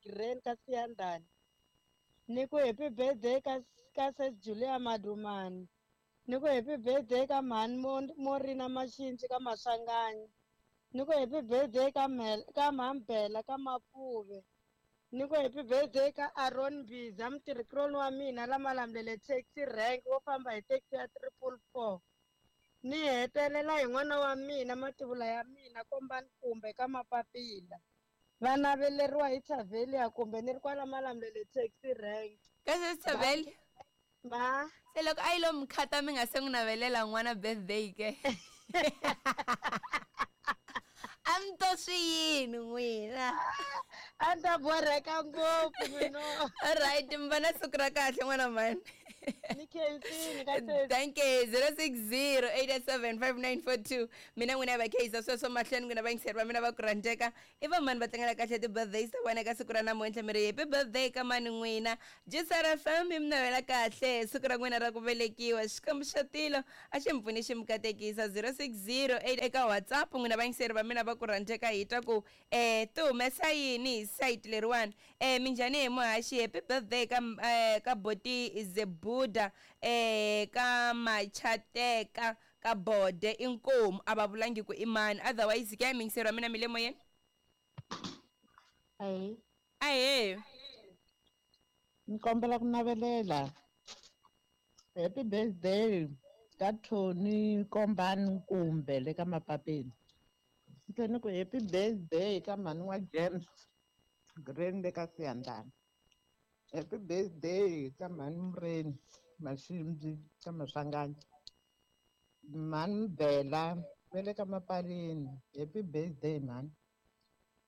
Green ka Siyandhani. Ni ku happy birthday ka Sis Julia Madumani. Ni ku happy birthday ka mhani Morina Maxinci ka Maswanganyi. Ni ku happy birthday ka mhani Bela ka Mapuve. Ni ku happy birthday ka Aaron Biza, mutirhikuloni wa mina la Malamulele taxi rank wo famba hi taxi ya 444. Ni hetelela hi n'wana wa mina mativula ya mina Kombani kumbe ka Mapapila. Va naveleriwa hi Tavelia kumbe ni ri kwala Malamulele taxi rank. Ka se Tavelia? Ma. Se loko a yi lo mi khata mi nga se n'wi navelela n'wana birthday ke. A mi to swi yini n'wina? A ni ta borheka ngopfu n'wino. Alright, mi va na siku ra kahle n'wana mhani. Ni khensini ka sesi. Thank you. 060-887-5942. Mina n'wina va khayisa sweswo mahlweni n'wina vayingiseri va mina va ku rhandzeka. I va mani va tlangela kahle ti-birthdays ta vona eka siku ra namuntlha? Mi ri happy birthday ka mani n'wina? Jisara FM yi mi navela kahle siku ra n'wina ra ku velekiwa. Xikwembu xa tilo a xi mi pfuni xi mi katekisa. 0608 eka WhatsApp n'wina vayingiseri va mina va ku rhandzeka hi twa ku ti humesa yini hi site leriwani. Minjhani hi muhaxi? Happy birthday ka boti Zebuda ka Machateka ka Bode inkomu a va vulangi ku i mani otherwise ke miyingiseri wa mina mi le moyeni. Ahee. Ahee. Ni kombela ku navelela happy birthday ka Tony Kombani kumbe le ka Mapapeni. Ni tlhela ni ku happy birthday ka mhani wa James Green le ka Siyandhani. Happy birthday ka mhani Mureni Maximbi ka Maswanganyi. Mhani Bela va le ka Mapaleni. Happy birthday mhani.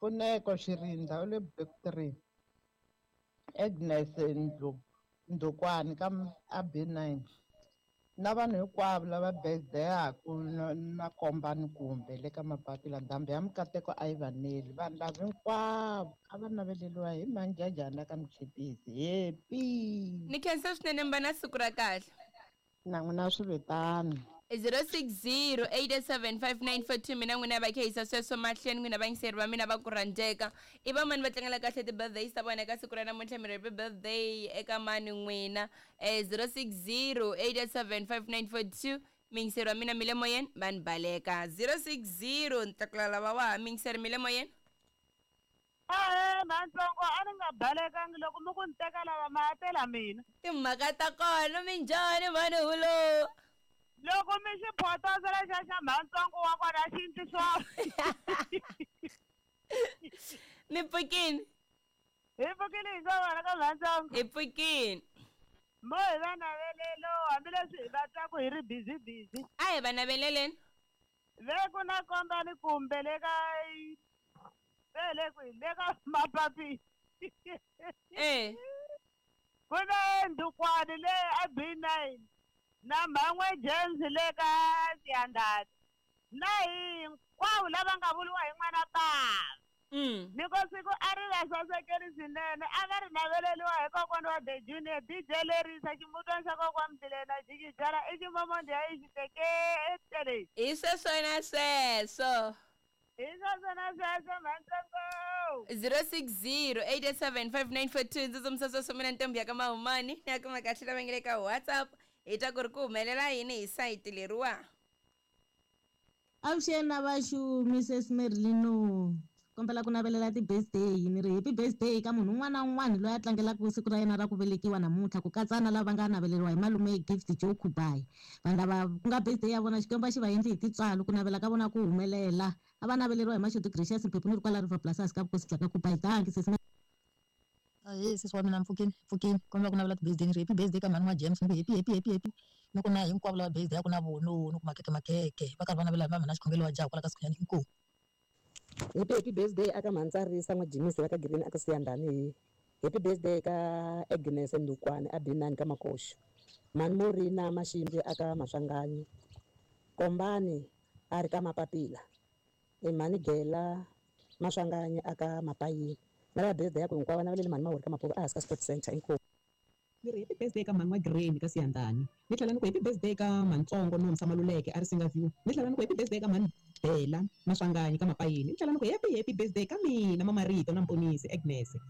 Pfuneko Xirindza u le Block 3. Agnes Ndhukwani ka a B9. Na vanhu hinkwavo lava birthday-aku na Kombani kumbe le ka Mapapila ndhambi ya mikateko a yi va neli. Vanhu lava hinkwavo a va naveleriwa hi manjhajhana ka Muchipisi. Happy! Ni khensa swinene mi va na siku ra kahle. Na n'wina swi vitano. 060-887-5942 mina n'wina va khehisa sweswo mahlweni n'wina vayingiseri va mina va ku rhandzeka. I va mani va tlangela kahle ti-birthdays ta vona eka siku ra namuntlha? Mi ri happy birthday eka mani n'wina? 060-887-5942 miyingiseri wa mina mi le moyeni va ni baleka. 060 ni tlakula lava wa ha miyingiseri mi le moyeni. Ahee mhantsongo a ni nga balekangi loko mi ku ni teka lava ma tela mina. Timhaka ta kona minjhani mhani hulo? Loko mi xi photosa lexiya xa mhantsongo wa kona xi ndzi swona. Mi pfukini? Hi pfukile hi swa vona ka mhantsongo. Hi pfukini. Mo hi va navelelo hambileswi hi va twaku hi ri busy busy. A hi va naveleleni. Ve ku na Kombani kumbe le ka ve le kwihi le ka Mapapi. Ku na Ndhukwani le a B9 na Mhan'we James le ka Siyandhani. Na hinkwavo lava nga vuriwa hi n'wana bava. Ni ko siku a ri va sasekeli swinene a va ri naveleriwa hi kokwana wa The Junior DJ Lerisa ximutwana xa kokwana Mbilena Jikijala i ximomondi ya i xiteketele. Hi sweswona sweswo. Hi sweswona sweswo mhantsongo. 060-887-5942 ndzi tsundzuxa sweswo mina ntombi ya ka Mahumani ni ya kuma kahle lava nge le ka WhatsApp hi twa ku ri ku humelela yini hi sayiti leriwa. Avuxeni na vaxumi Sis Merlino. Kombela ku navelela ti-birthday ni ri happy birthday ka munhu un'wana na un'wana loyi a tlangelaka siku ra yena ra ku velekiwa namuntlha ku katsa na lava nga naveleriwa hi malume Gift Joe Khubai. Vanhu lava ku nga birthday ya vona Xikwembu a xi va endli hi tintswalo ku navela ka vona ku humelela. A va naveleriwa hi Mashudu Gracious Mphephu ni ri kwala River Plus ka vukosi bya ka Khubai. Dankie Sis Merlino. Ahee sesi wa mina mpfukini mpfukini kombela ku navela ti-birthday ni ri happy birthday ka mhani wa James ni ku happy happy happy happy ni ku na hinkwavo lava birthday ya ku na vono ni ku makeke makeke va karhi va navela hi mhani xikhongelo wa jaha kwala ka Sikhunyani inkomu. Happy happy birthday aka Mhantsarisa n'wa Jimisi va ka Green aka Siyandhani hi. Happy birthday ka Agnes Ndukwane a B9 ka Makoxo. Mhani Morina Maximbi aka Maswanganyi. Kombani a ri ka Mapapila. Mhani Gela Maswanganyi aka Mapayini. Na lava birthday ya ku hinkwavo naveleli mhani Mawuri ka Mapuva a hansi ka Sport Center inkomu. Ni ri happy birthday ka mhani wa Green ka Siyandhani. Ni tlhela ni ku happy birthday ka Mhantsongo Nomsa Maluleke a ri Singa View. Ni tlhela ni ku happy birthday ka mhani Bela Maswanganyi ka Mapayini. Ni tlhela ni ku happy happy birthday ka mina Mamarito na Mponisi Agnes. Na